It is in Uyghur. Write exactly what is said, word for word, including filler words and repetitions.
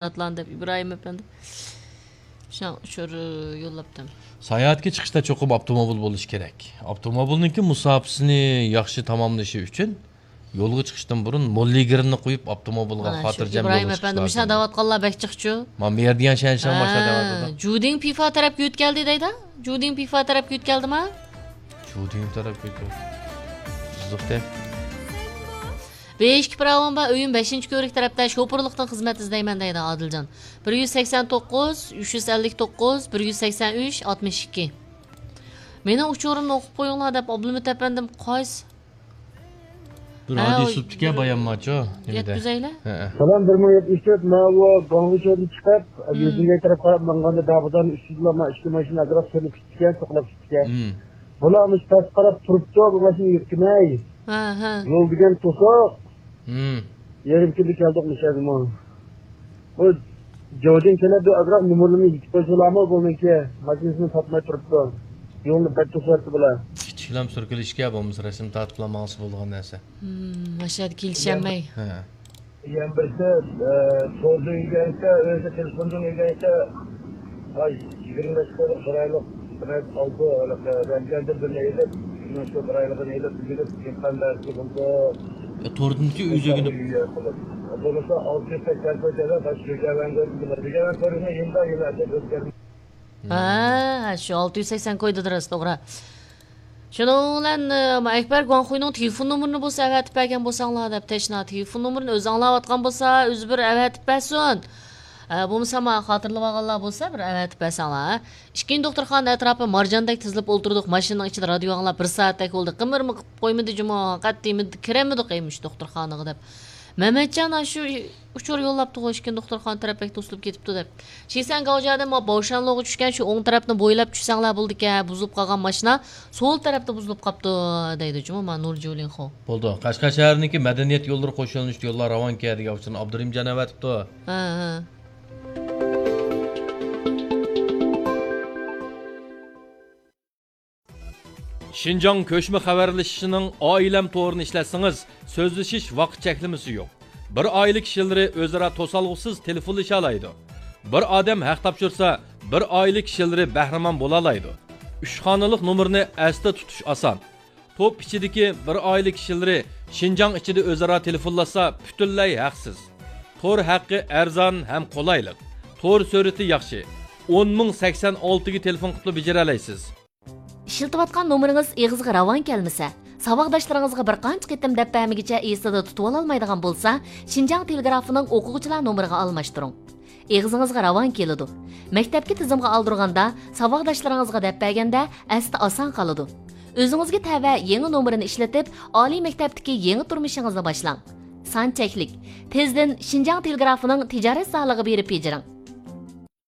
ئاتلاندى دەپ ئىبراھىم ئەپەندى شۇڭا ئۇچۇر يوللاپتىم. ساياھەتكە چىقىشتا چوقۇم ئاپتوموبىل بولۇشى كېرەك. ئاپتوموبىلنىڭكى مۇساپىسىنى ياخشى تاماملىشى ئۈچۈن يولغا چىقىشتىن بۇرۇن موللىگىرنى قويۇپ ئاپتوموبىلغا مانا شۇ خاتىرجەم يول ئىبراھىم ئېپەندى مۇشۇ دەۋاتقانلار بەك جىقچۇ. مانا بۇ يەردە يەنە شەنشەن باشلاپ دەۋاتىدۇ. جۇدىڭ پىفا تەرەپكە يۆتكەلدى دەيدۇ. جۇدىڭ پىفا تەرەپكە يۆتكەلدىما؟ جۇدىڭ تەرەپكە يۆتكەلدى. بىزلىقتە. بېشىكى پىراۋان بار، ئۆيۈم بەشىنچى كۆۋرۈك تەرەپتە، شوپۇرلۇقتىن خىزمەت ئىزدەيمەن دەيدۇ ئادىلجان. بىر يۈز سەكسەن توققۇز، ئۈچ يۈز ئەللىك توققۇز، بىر يۈز سەكسەن ئۈچ، ئاتمىش ئىككى. مېنىڭ ئۇچۇرۇمنى ئوقۇپ قويۇڭلار دەپ ئابلىمىت ئەپەندىم قايسى؟ بىر ھە، ھادىسە ئۇ بولۇپتىكەن بىر بايام ماچۇ، نېمىدە؟ يەتكۈزەيلى. ھەئە. سالام، بىر مىڭ يەتمىش تۆت، ماۋۇ گۇاڭزۇ شەھىرىگە چىقىپ، مم. يۈزۈڭگەي تەرەپ قاراپ ماڭغاندا داغدىن ئۈستىدىلا ما ئىككى ماشىنا ئازراق سۈرۈپ كېتىپتىكەن، توختاپ كېتىپتىكەن. مم. بۇلار مۇشۇ پەس قاراپ تۇرۇپتۇ، بۇ ماشىنا يۈركىمەي. ھە، ھە. يول دېگەن توسۇق. مم. يېرىم كۈندە كەلدۇق مۇشۇ يەرگىمۇ. بۇ جودىن كېلىپ بىر ئازراق نومۇرلىرىنى يېتىپ قويسىلارمۇ بۇنىڭكى ماشىنىسىنى تاپماي تۇرۇپتۇ. يولنى بەك توسۇۋەتتى بۇلار. كىچىكلەم سۈركىلىشكە بولمىسا رەسىم تارتىپلا ماڭسا بولىدىغان نەرسە. مم، ماشىنىدا كېلىشەلمەي. ھە. يەنە بىرسى، ئە، توردىن ئۆگەنسە، ئۆزى تېلېفوندىن ئۆگەنسە، ئاي، يىگىرمە بەش قويلۇق چىرايلىق، بىر ئالتە، ھېلىقى، رەنجەندىن بىرنى ئېلىپ، شۇنىڭ شۇ چىرايلىقىنى ئېلىپ، ئۆگىنىپ، ئىمكان بەرسە بولىدۇ. ئە، توردىنكى ئۆزى ئۆگىنىپ. بولمىسا ئالتە يۈز سەكسەن كوي تۆلەپ، باشقا ئۆگەنگەن، ئۆگەنگەن كوينى يىلدا يىل ئەتەپ ئۆزگەرمەيدۇ. ھە، شۇ ئالتە يۈز سەكسەن كويدا راست، توغرا. شۇنىڭ بىلەن، ئە، ئەكبەر گۇاڭخۇينىڭ تېلېفون نومۇرىنى بولسا ئەۋەتىپ بەرگەن بولساڭلار دەپ تەشنا. تېلېفون نومۇرىنى ئۆزى ئاڭلاۋاتقان بولسا، ئۆزى بىر ئەۋەتىپ بەرسۇن. ئە، بولمىسا ما خاتىرىلىۋالغانلار بولسا بىر ئەۋەتىپ بەرسەڭلار. ئىككىنچى دوختۇرخانا ئەتراپى مارجاندەك تىزىلىپ ئولتۇردۇق. ماشىنىنىڭ ئىچىدە رادىيو ئاڭلاپ بىر سائەتتەك بولدى. قىمىرمۇ قىلىپ قويمىدى جۇمۇ. قەتئىي كىرەلمىدۇق ئەي مۇشۇ دوختۇرخانىغا دەپ. مەمەتجان ئاشۇ ئۇچۇر يوللاپتىغۇ ئىككىنچى دوختۇرخانا تەرەپ بەك توسۇلۇپ كېتىپتۇ دەپ. شىسەن گاۋجيادىن ما باۋشانلوغا چۈشكەن شۇ ئوڭ تەرەپنى بويلاپ چۈشسەڭلار بولىدىكەن، بۇزۇلۇپ قالغان ماشىنا سول تەرەپتە بۇزۇلۇپ قاپتۇ دەيدۇ جۇمۇ ما نۇر جۇلىنخو. بولدى. قەشقەر شەھىرىنىڭكى مەدەنىيەت يوللىرى قوشۇلۇشتا يوللار راۋانكەن دېگەن ئۇچۇرنى ئابدۇرېھىمجان ئەۋەتىپتۇ. ھە، ھە. شىنجاڭ كۆچمە خەۋەرلىشىشىنىڭ ئائىلەم تورىنى ئىشلەتسىڭىز، سۆزلىشىش ۋاقىت چەكلىمىسى يوق. بىر ئائىلە كىشىلىرى ئۆزئارا توسالغۇسىز تېلېفونلىشالايدۇ. بىر ئادەم ھەق تاپشۇرسا، بىر ئائىلە كىشىلىرى بەھرىمەن بولالايدۇ. ئۈچ خانىلىق نومۇرنى ئەستە تۇتۇش ئاسان. توپ ئىچىدىكى بىر ئائىلە كىشىلىرى شىنجاڭ ئىچىدە ئۆزئارا تېلېفونلاشسا، پۈتۈنلەي ھەقسىز. تور ھەققى ئەرزان ھەم قولايلىق. تور سۈرئىتى ياخشى. ئون مىڭ سەكسەن ئالتىگە تېلېفون قىلىپلا بېجىرەلەيسىز. ئىشلىتىۋاتقان نومۇرىڭىز ئېغىزغا راۋان كەلمىسە، ساۋاقداشلىرىڭىزغا بىر قانچە قېتىم دەپ بەرمىگىچە ئېسىدە تۇتۇۋالالمايدىغان بولسا، شىنجاڭ تېلېگرافىنىڭ ئوقۇغۇچىلار نومۇرىغا ئالماشتۇرۇڭ. ئېغىزىڭىزغا راۋان كېلىدۇ. مەكتەپكە تىزىمغا ئالدۇرغاندا، ساۋاقداشلىرىڭىزغا دەپ بەرگەندە ئەستە ئاسان قالىدۇ. ئۆزىڭىزگە تەۋە يېڭى نومۇرنى ئىشلىتىپ، ئالىي مەكتەپتىكى يېڭى تۇرمۇشىڭىزنى باشلاڭ. سان چەكلىك. تېزدىن شىنجاڭ تېلېگرافىنىڭ تىجارەت زالىغا بېرىپ بېجىرىڭ.